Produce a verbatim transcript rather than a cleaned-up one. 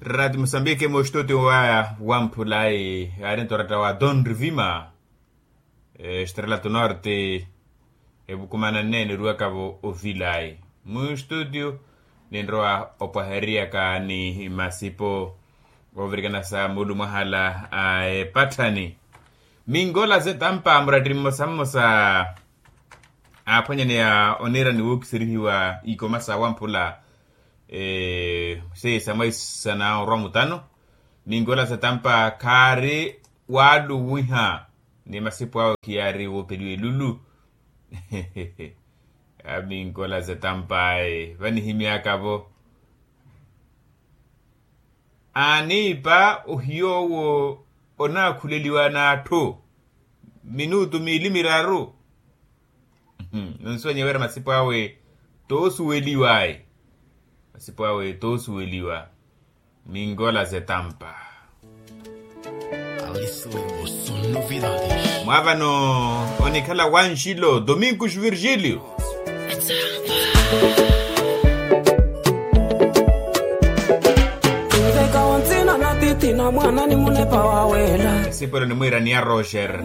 Rati musambiki mustuti wa wamphulayi arinto rata wa don rivima, estrela tu norte, evukumana nne niruwakavo ovilayi mustuti. Ninrowa opwaheriyaka ni masipo ovirikana sa mulu mwahala a epatthani. Minkola zetampa muratti mmosa mmosa aaphwanyaneya oniira ni wookiserihiwa ikoma sa wamphula. Seiya sa mwaisana orwa mutano. Minkola zetampa khaari waluwiha ni masipu awe khiyaari woopeliwa elulu. Aminkola zetampa aye vanihimyaka-vo. Aaniipa ohiy'owo onaakhuleliwa n'atthu minutu miili miraru. Nonsuwanya wira masipu awe toosuweliwa ayi. Masipu awe toosuweliwa. Minkola zetampa. Mwaavano onikhala wanxilo dominkus virgilio. Esipwelo nimwiira ni ya roger.